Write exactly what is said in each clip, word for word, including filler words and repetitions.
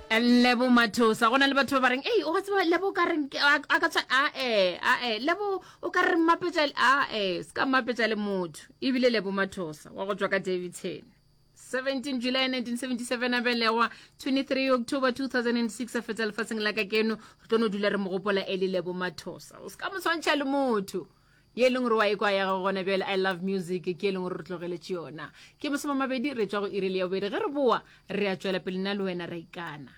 Lebo Mathosa go na le batho ba ba reng ei o ka tseba Lebo o ka reng ke- a a ka tswa a e a e Lebo o ka re mmapetša le- a e se ka mmapetša le motho ebile Lebo Mathosa wa go tšwa ka Daveyton seventeen July nineteen seventy-seven a belegwa twenty-three October two thousand and six a fetsa lefatsheng la ka keno. Re tlo no dula re mo gopola e le Lebo Mathosa. O se ka mo tshwantšha le motho ye e leng gore wa e kwa ya gago gona bjale. I Love Music ke e leng gore re tlogeletše yona. Ke masome mabedi re tšwa go iri le ya bobedi. Ge re boa re a tšwela pele nna le wena ra ikana.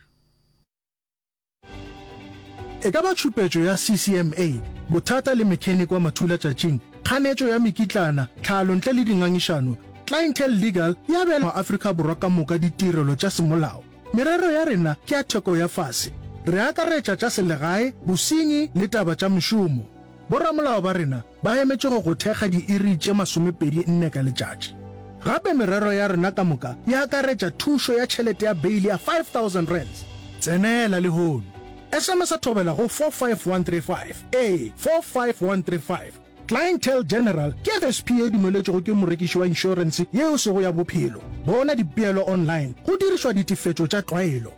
E ka ba tšhupetšo ya C C M A, bothata le mechanic wa mathulatšatšing, kganetšo ya mekitlana, tlhalo ntle le dingangišano, Clientele Legal e abela maAfrika Borwa ka moka ditirelo tša semolao. Merero ya rena ke ya theko ya fase. Re akaretša tša selegae, bosenyi le taba tša mešomo. Boramolao ba rena ba emetše go go thekga diiri tše masomepedi nne ka letšatši. Gape merero ya rena ka moka e akaretša thušo ya tšhelete ya beili ya five thousand rands. Tsenela lehono. S M S Thobela go four five one three five. Ee, four five one three five. Clientele General ke F S P ye dumeletšwego ke morekiši wa inšorense ye e sego ya bophelo. Bona dipeelo online go dirišwa ditefetšo tša tlwaelo.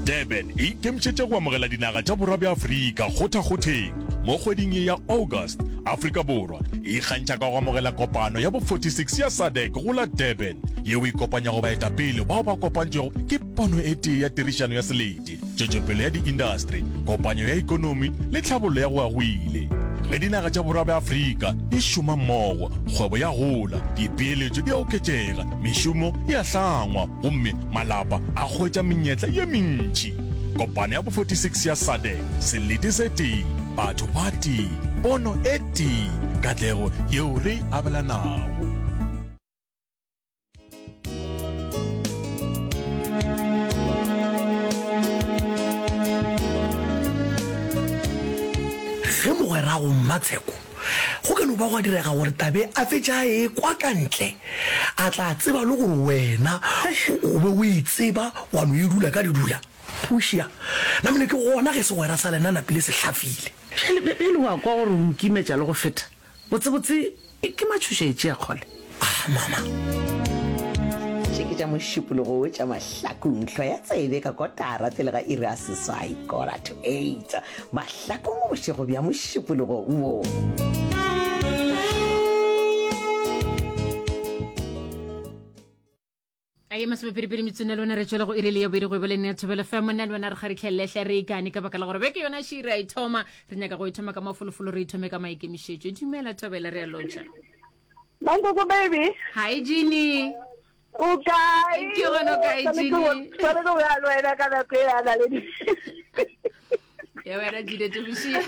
Durban e ikemišetše go amogela dinaga tša Borwa bja Afrika kgothakgotheng mo kgweding ye ya August. Afrika Borwa e ikgantšha ka go amogela kopano ya bo forty-six ya SADC go la Durban, yeo e kopanyago baetapele bao ba kopantšwego ke pono e tee ya tirišano ya selete, tšwetšopele ya diindastri, kopanyo ya ekonomi le tlhabollo ya go ya go ile. Ge dinaga tša Borwa bja Afrika di šoma mmogo, kgwebo ya gola, dipeeletšo di a oketšega, mešomo e a hlangwa gomme malapa a hwetša menyetla ye mentši. Kopano ya bo forty-six ya SADC, selete se tee, batho ba tee, pono e tee, katlego yeo re e abelanago. Ge mogwerago Mmatsheko go ka no ba gwa direga gore tabe a fetše a ekwa ka ntle, a tla tseba le gore wena o be o e tseba wa no e dula ka didula. Pušia, Namile ke gona ge segwera sa lena napile se hlafile. Bjale, bjale o a kwa gore o nkimetša le go feta. Botsebotse ke matšhošetši a kgole. Ah, mama. Tše ke tša Mošupologo wo tša Mahlakong, hlwa ya tsebe ka kotara pele ga iri ya seswai, quarter to eight, Mahlakong bošego bja Mošupologo wo. A ye masomepedipedi metsone le wena re tšwele go iri le ya bobedi go e boleng ya Thobelo F M. Nna le wena re kgaritlhelelehle re ikane ka baka la gore beke yona še re a e thoma. Re nyaka go e thoma ka mafolofolo, re e thome ka maikemišetšo. Dumela Thobela, re a lotšha. Mankoko baby. Hi Jeannie. O kae? Ke gona, o kae, Jeannie? Tshwanetse go ya le wena ka nako e ya naledi. Ya wena Jeannie Tebošia.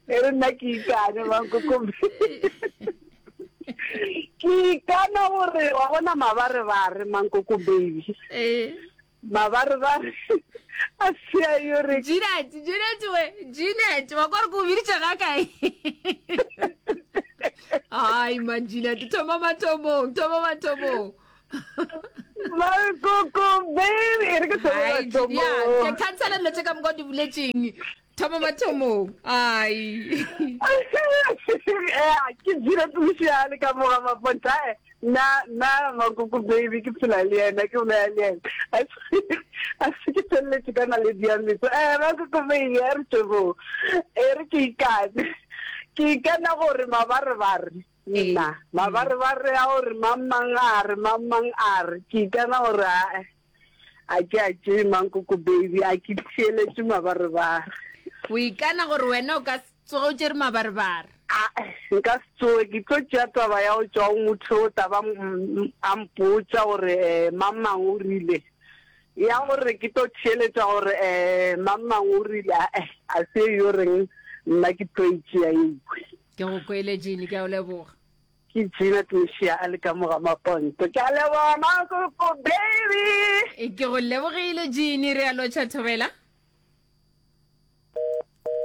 E re nna ke ikane, mankoko. Ke ikana gore wa bona mabarebare, mankoko baby. Eh. Mabarebare a sia yo re. Jeanette, Jeanette we, Jeanette, wa kwa re ko biditše ga kae? Ai man Jeanette, thoma mathomong, thoma mathomong. Mankoko baby, e re ke thome Ai, mathomong. ya, ke cancela dilo tše ka moka o di boletseng. Thoma mathomong. Ai. Eh, ke Jeanette Moshiane ka moga maponta. Nna nna mankoko baby ke phela le yena, ke bolela le yena. A se a se ke feleletše ka naledi ya meso. Eh, mankoko baby, a re tšebo. E re ke ikane. Ke ikana gore mabarebare nna mabarebare a gore mang mang a re, mang mang a re, ke ikana gore a a ke a tšee, mankoko baby, a ke theeletše mabarebare. O ikana gore wena o ka se tsoge o tšere mabarebare. A nka se tsoge ke tlo tšea taba ya go tšwa go motho o taba m- a mpotša gore um mang mang o rile, ya gore ke tlo theeletša gore um mang mang o rile, ae a se yo reng nna ke tlo e tšea ewe. Ke go kwele Jeannie, ke a o leboga. Ke Jeanette Mošia a le ka moga maponto. Ke a leboga, mankoko baby. E, ke go lebogile Jeannie, re a lotšha Thobela.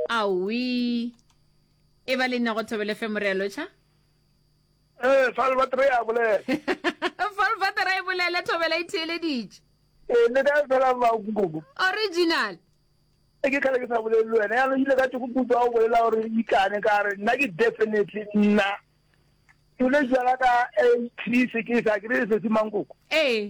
Aowi. E ba le nna go Thobela F M, re a lotšha. Ee, Salvatore a bolela. Salvatore e bolela, Thobela e theeleditše. Ee, le kae fela mankoko? Original. E ke kgale ke sa bolele le wena. Yaanong ile ka tšego kutlwa o bolela gore ikane, ka re nna ke definitely nna Tole jala ka eighty ke sa kry se se mankoko. Ee.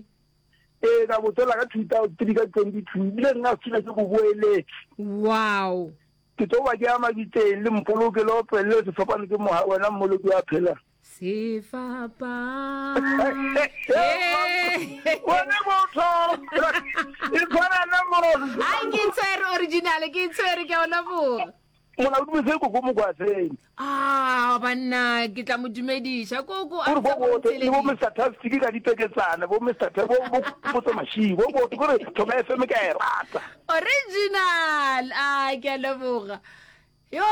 Ee, ka botsela ka two thousand three ka twenty two ebile nna sethula ke go boeletse. Wow. Ke tlo ba ke ya mabitseng le mpoloke le opelele sefapano ke moga wena mmoloki wa phela. Sefapano. Wena motho. E tshwana le motho. Ai ke tshwere original ke tshwere ke a o leboga. Molaodi Mosei Koko Mokwaseng. Ah, banna, ke tla mo dumediša. Koko, a Kore bo bote, le bo Mister Tastic ka dipeketsana, bo Mister T, bo bo Potso Mashigo, bo bote, kore Thobela F M ke a e rata. Original! Ah, ke a leboga. Yo,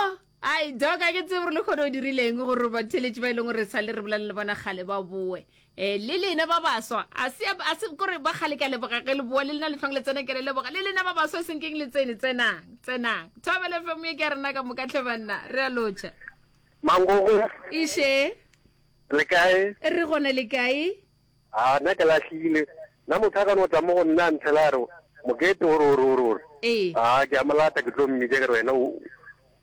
ai, Doc, a ke tsebe gore le kgone o dirileng gore batheeletši ba e leng gore sa le re bolela le bona kgale ba boe. Eh, le lena ba baswa, a se, a se kore ba kgale ke a leboga ge le boa, le lena le hlong le tsena ke le leboga, le lena ba baswa e seng keng le tsene, tsenang, tsenang. Thobela F M ye ke ya rena ka moka hle banna, re a lotšha. Mangogo. Iše. Le kae? Re gona, le kae? A, nna ke lahlile. Nna motho a ka no tla mo go nna a ntshela a re, Mokete o re o re o re o re. Ee. A, ke a mo lata ke tlo mmitša ke re wena o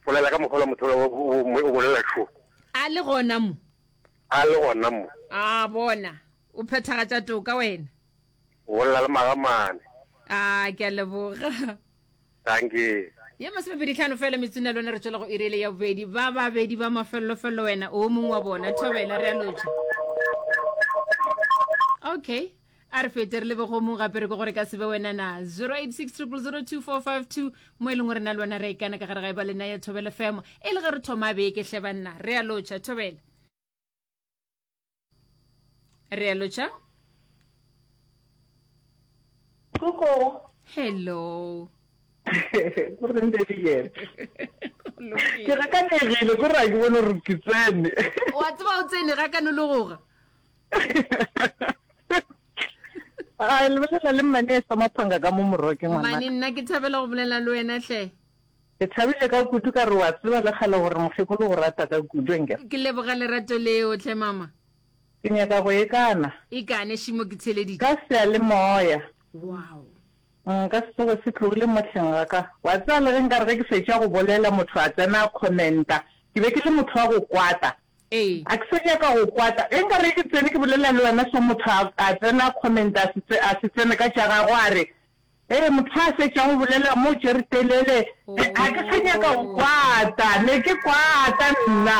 bolela ka mokgwa ola motho ola o, o, o bolela šo. A le gona mo. A le gona mo. A bona, o phethagatša toka wena. O bolela le magamane. A, ke a leboga. Dankie. Ye masomepedi hlano fela metsotso ya lona re tšwela go iri ele ya bobedi. Ba babedi ba mafellofello wena o mongwe wa bona. Thobela, re a lotšha. Okay. A re fete re lebe go mongwe gape re ke gore ka se be wena na. zero eight six triple zero two four five two mo e leng gore na le wena re a ikana ka gare ga e ba lena ya Thobela F M. E le ge re thoma beke hle banna. Re a lotšha, Thobela. Re a lotšha. Koko. Hello. Go reng baby girl? Ke gakanegile ko re a ke bone gore ke tsene. Wa tseba o tsene ga ka nologoga. A lebelela le mmane e sa maphanga ka mo moroke ngwana. Mmane nna ke thabela go bolela le wena hle. Ke thabile ka kudu ka re wa tseba le kgale gore mokgekolo go rata ka kudu enke. Ke leboga lerato leo hle mama. Ke nyaka go ikana. Ikane šimo ke theleditše. Ka seyalemoya. Wow. Nka se tsoge se tlogile mo hleng ga ka. Wa tseba le ge nkare ge ke fetša go bolela motho a tsena a commenta, ke be ke le motho wa go kwata. Ee. A ke sa nyaka go kwata. Ge nkare ge ke tsene ke bolela le wena so motho a, a tsena a commenta a se, a se tsene ka tša gagwe a re, Ee, motho a fetšang go bolela mo tšere telele, a ke sa nyaka go kwata, ne ke kwata nna.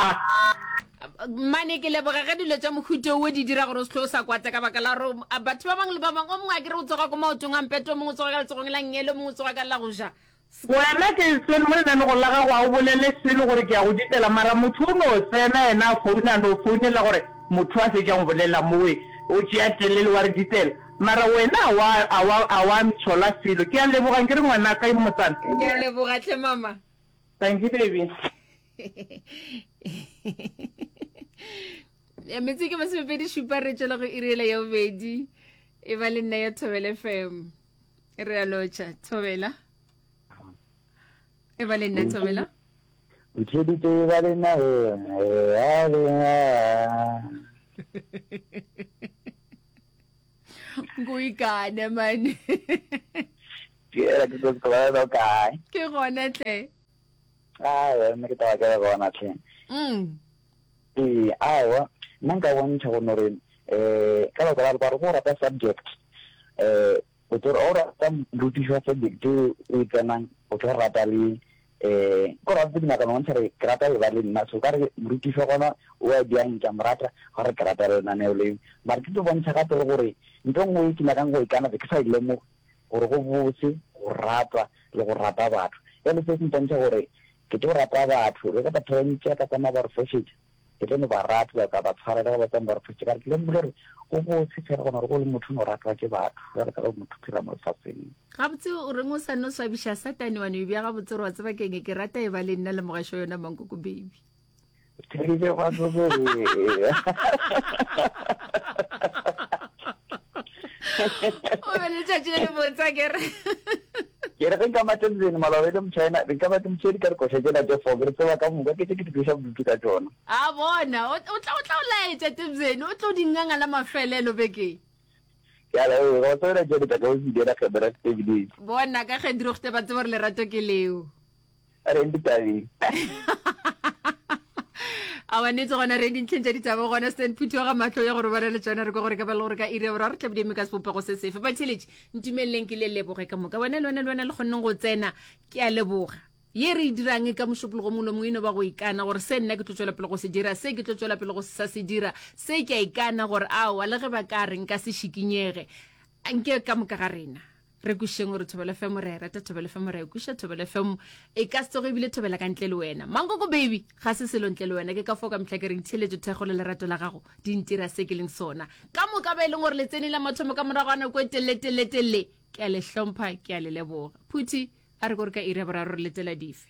Mmane, ke leboga ge dilo tša mohuta wo di dira gore o se hlwe o sa kwata ka baka la gore batho ba bangwe le ba bangwe, o mongwe a ke re o tsoga ko maotong a mpete, o mongwe o tsoga ka letsogong la nngele, o mongwe o tsoga ka la go ja. Wena ke tsene mo lenanegong la gago a o bolele selo gore ke a go ditela mara motho o no tsena yena a founa a no founela gore motho a fetšang go bolela mowe o tšea telele wa re ditela mara wena a wa a wa a wa ntshola selo ke a leboga nkere ngwanaka yo motsana. Ke a leboga hle mama. Thank you baby. Ya metsotso ke masomepedi šupa re tšwela go iri yela ya bobedi e ba le nna ya Thobela F M. Re a lotšha Thobela. E ba le nna Thobela. O theeditše e ba le nna e ba le nna. Nko ikane mane. Ke era ke tlo tlo lo kae? Ke gona tle. Aowa, nna ke taba ke le gona tle. Mm. Ee, aowa, nna nka bontšha go no re eh ka baka la gore go rata subject eh o tlo o rata morutiši wa subject o e tsenang o tlo rata le eh ko rata ke nyaka no bontšha re ke rata le ba le nna so ka re morutiši wa gona o a diang ke a mo rata gore ke rata lenaneo leo mara ke tlo bontšha gape le gore ntho nngwe ke nyakang go e kana ke sa e lemoge gore go botse go ratwa le go rata batho jale se se mpontšha gore ke tlo rata batho le ka batho ba ntši ka tsamaya ba re fošetša ke tlo no ba rata ka ba tshwarela ba tsamaya ba re fošetša ka re ke lemogile gore go botse fela gona gore go le motho no ratwa ke batho jalo ka ge motho phela mo lefaseng. Gabotse o reng o sa no swabiša Satane wa no e bja gabotse gore wa tseba keng ke rata e ba le nna le mogašo yona Mankoko baby. Theeditše gwa tsoge. O be le letšatši le le botse akere. Ke re ge nka matebzeni maloba e le Mochina, nka ba ke motšhedi ka dikoša tšela tše four, ke re tseba ka moka ke tše ke di tloša bodutu ka tšona. A bona, o tla o tla o laetša Tebzeni, o tlo di nganga la mafelelo bekeng. Ke a leboga, go tsebela tšele tša ka o se diela kgebera ebile. Bona ka ge dirogte ba tseba gore lerato ke leo. A re ditabeng. A wa nnete gona re dintlheng tša ditaba gona Stan Phuthi wa ga mahlo ya go robala le tšona re kwa gore ka ba le gore ka iri ya boraro re tla be di eme ka sebopego se sefe. Batheeletši ntumeleleng ke le leboge ka moka wena le wena le wena le kgonneng go tsena ke a leboga. Ye re e dirang ka mošupologo mongwe le mongwe e no ba go ikana gore se nna ke tlo tšwela pele go se dira, se ke tlo tšwela pele go sa se dira, se ke a ikana gore aowa le ge ba ka re nka se šikinyege. Anke ka moka ga rena re kwišeng gore Thobela F M re a e rata, Thobela F M re a e kwiša, Thobela F M e ka se tsoge ebile thobela ka ntle le wena. Mankoko baby ga se selo ntle le wena, ke ka fao ka mehla ke reng theeletšo, thekgo le lerato la gago di ntira se ke leng sona. Ka moka ba e leng gore le tsene la mathomo ka morago ga nako e telele telele telele, ke a le hlompha, ke a le leboga. Phuthi a re ko re ka iri ya boraro re letela dife.